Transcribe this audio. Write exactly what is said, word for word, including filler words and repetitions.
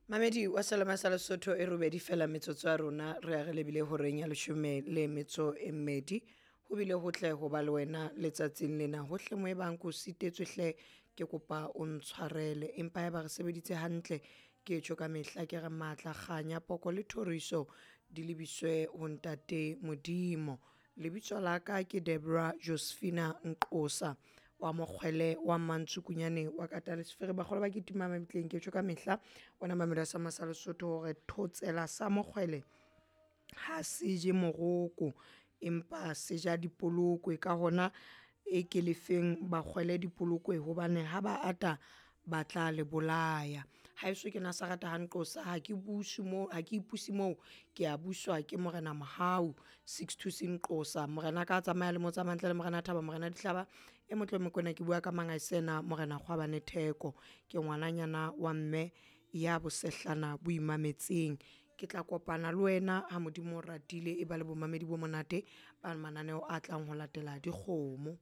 Mamedi wa Salama sa Lesotho e robedi fela metsotso ya rona re ya re lebile horeng ya leshome le metso e mmedi. Ho bile hotle ho ba le wena letsatsing lena hohle mo e bang ko sitetswe hle ke kopa o ntshwarele empa eba re sebeditse hantle ke tjho ka mehla ke re matla kganya poko le thoriso di lebiswe ho ntate Modimo. Lebitso la ka ke Debra Josephina Nqosa wa mokgwele wa Mantsukunyane wa Katalesfere bakgolo ba ketima mabitleng ke tjho ka mehla ona mamelo sa masa Lesotho hore thotsela sa mokgwele ha se je moroko empa se ja dipolokwe ka hona e ke lefeng bakgwele dipolokwe hobane ha ba ata ba tla le bolaya. Haeso ke Nasarata ha Nqosa ha ke buse mo ha ke ipuse moo ke a buswa ke Morena Mohau six two Nqosa morena ka tsamaya le mo tsamaya ntle le morena Thaba morena Dihlaba e motle Mokoena ke bua ka Mangaisena morena Kgwabane Theko ke ngwananyana wa mme ya bosehlana bo imametseng. Ke tla kopana le wena ha Modimo o ratile e ba le bomamedi bo monate ba mananeo a tlang ho latela dikgomo.